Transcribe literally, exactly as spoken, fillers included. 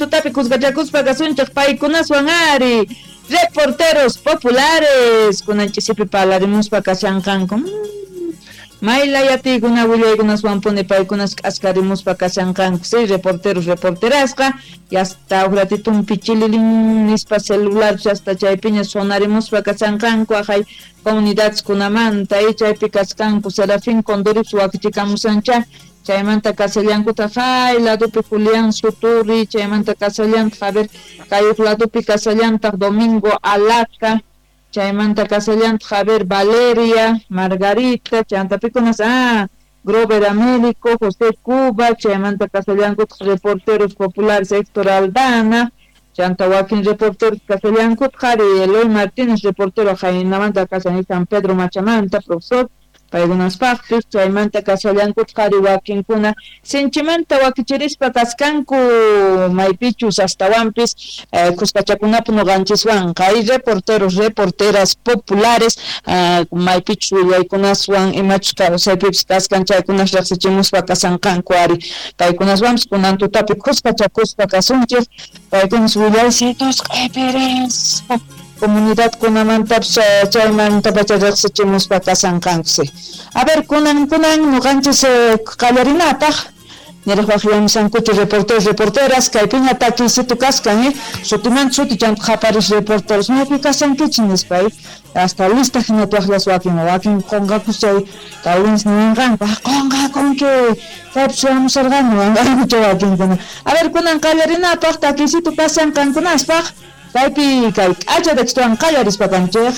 Tutapi kuskachakuspa kasunchik paykunaswan ari reporteros populares kunan ch'isipi parlarimuspa kashanqanku. Mayla yatiykuna willaykunaswanpuni paykunas k'askarimuspa kashanqanku, sí, reporteros reporterasqa yasta huk ratitumpi chililin nispa celular hasta chaypiña sonarimuspa kashanqanku aqhay comunidadeskunamanta y chaypi kasqanku Serafín Condorips wakichikamusancha chaymanta kasallankutaq hay ladopi Julián Suturi chaymanta kasallantaq a ver kay huk ladopi kasallantaq Domingo Alaca chaymanta kasallantaq a ver Valeria Margarita chayanta pikunas ah Grover Américo José Cuba chaymanta kasallankutaq reporteros populares Héctor Aldana chanta wakin reporteros kasallankutaq qhari Eloy Martínez reportero haynamanta kasan San Pedro Machamanta profesor paykunaspaqpis chaymanta kasallankutaq qhari wakinkuna sinchimanta wakichirispa kaskanku maypichus astawanpis eh, kuskachakunapi ñuqanchiswanqa hay reporteros reporteras populares uh, maypichus willaykunaswan imachus kawsaypipis kaskan chaykunas riqsichimuspa kasanqanku ari paykunaswanpis kunan tutapi kuskachakuspa kasunchik paykunas willaysitos q'ipirispa comunidad kunamantapis chaymantapacha riqsichimuspa kasanqanku. A ver, kunan kunan ñuqanchis qallarinapaq niraq waqyamusankuchu reporteros reporteras kaypiña takiysitu kaskan eh sutimanta suti chanta qaparis reporteros maypi kasankichik nispa eh hasta lista hinata waqllas wakin wakin qunqakus chay talvez ninqanku qunqakunki kaypi suyamusarqani wanqanku chay wakinkuna. A ver, kunan qallarinapaq takiysitu kasan qankunaspaq kaypi kay k'acha textowan qallarispa kanchik.